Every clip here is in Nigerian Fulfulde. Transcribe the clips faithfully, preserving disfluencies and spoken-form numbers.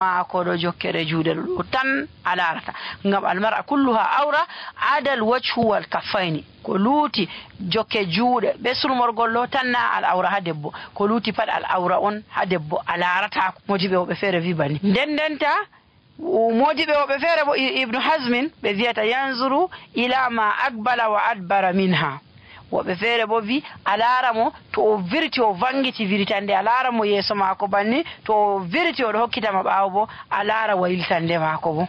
maako ɗo jokkere juuɗe ɗo tan a larata ngam almar'a kulluha awra adal wajhu wal kaffayni ko luuti jokke juuɗe be surmorgol ɗo tan na al awra ha debbo ko luuti pat al awra on ha debbo a larata modiɓe woɓe feere wi bani nden ndenta modiɓe woɓe feere bo ibnu hasmin ɓe wiyata yanzuru ila ma akbala wa adbara minha woɓe feere bo wi a laara mo to o virti o vangiti viritande a laara mo yeeso maako banni to o virti oɗo hokkitama ɓaawo bo a laara waylitande maako bo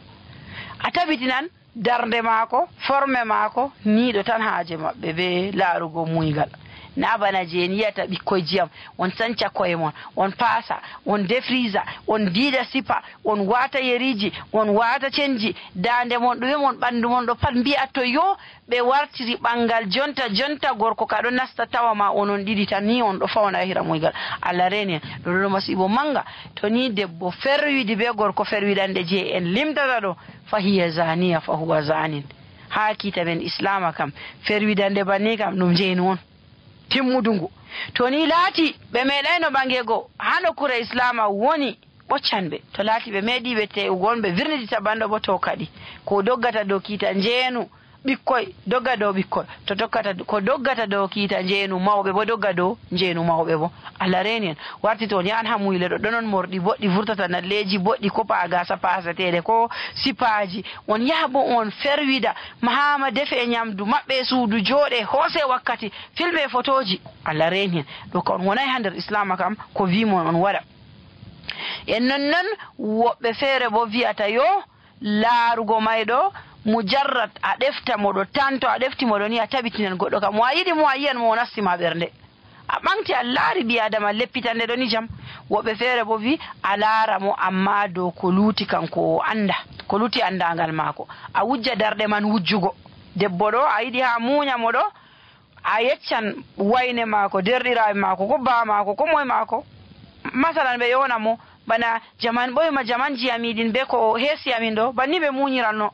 a tabitinan darde maako forme maako niiɗo tan haaje maɓɓe be laarugo muygal na bana jeen yiyata ɓikkoye jiyam on sanca koye mon on paasa on defrisa on diida sipa on waata yeriji on waata cenji dande mon ɗume mon ɓanndu mon ɗo pat mbi'a to yo ɓe wartiri ɓanngal jonta jonta gorko ka ɗo nasta tawa ma onon ɗiɗi tan ni on ɗo fawna hira muygal allah reeni en ɗo ɗo masibo manga to ni debbo ferwidi be gorko ferwidande je en limtata ɗo fa hiya zaniya fa huwa zanin ha kiita men islama kam ferwidande banni kam ɗum jeeni won timmudungu to ni laati ɓe meeɗayno ɓangego ha nokkure islama woni ɓoccanɓe to laati ɓe meeɗi ɓe tewgon ɓe virnidita banɗo bo to kadi ko doggata dow kiita njeenu ɓikkoy dogga dow ɓikkoy to tokkata ko doggata dow kiita njeenu mawɓe bo dogga dow njeenu mawɓe bo allah reeni en warti toon yahan ha muyle ɗo ɗonon morɗi boɗɗi vurtata nalleji boɗɗi ko pa gasa pasateɗe ko sipaji on yaha bo on ferwida mahama defe e ñamdu maɓɓe suudu jooɗe hoose wakkati filme photoji allah reeni en ɗo ko on wonay ha nder islama kam ko wimon on waɗa en nonnon woɓɓe feere bo wiyata yo laarugo mayɗo mujarrat a ɗefta moɗo tan to a ɗefti moɗo ni a tabitinan goɗɗo kam mo a yiɗi mo a yiyan mo o nastima ɓernde a ɓamti a laari ɓi adama leppitande ɗo ni jam woɓɓe feere bo wi a laara mo amma dow ko luuti kanko o anda ko luuti andangal maako a wujja darɗe man wujjugo debbo ɗo a yiɗi ha muuña mo ɗo a yeccan wayne maako derɗiraɓe maako ko baa maako ko moye maako masalan ɓe yona mo bana jaman ɓoyma jamanji amiɗin be ko heesi amin ɗo banni ɓe muñiranno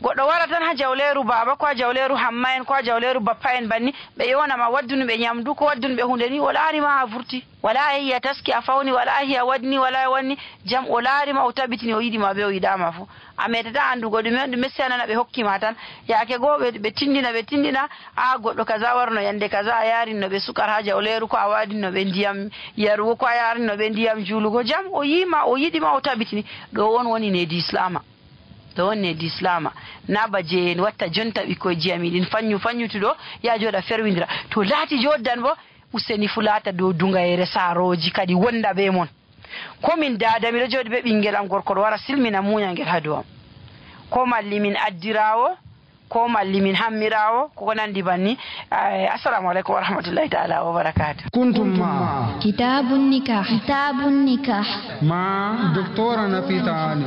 goɗɗo wara tan ha jawleeru baaba ko ha jawleeru hamma en ko ha jawleeru bappa en banni ɓe yonama waddunuɓe ñamdu ko waddunuɓe hunde ni o laarima a vurti wala yehi a taski a fawni wala yehi a waɗni wala wanni jam o laarima o tabitini o yiɗima be o yiɗama fo a meɗata andugo ɗume on ɗume seyanana ɓe hokkima tan yaake goo ɓe tindina ɓe tindina a goɗɗo kaza warno yande kaza a yarinno ɓe sukar ha jawleeru ko a waɗinno ɓe ndiyam yarugo ko a yarinno ɓe ndiyam juulugo jam o yima o yiɗima o tabitini ɗo on woni nedi islama ɗo wonne di islama naba je en watta jonta ɓikkoye jiyamiɗin fanyu fanyutuɗo ya jooɗa ferwidira to laati joddan bo useni fu laata dow dungayere saaroji kadi wonda be mon komin dada miɗo jooɗi be ɓinguel am gorko ɗo wara silmina muñangel ha dow am ko malli min addirawo ko malli min hammirawo koko nandi banni assalamu aleykum wa rahmatullahi taala wa barakatuh kuntum ma kitabun nikah kitabun nikah ma doctora Nafisa Ali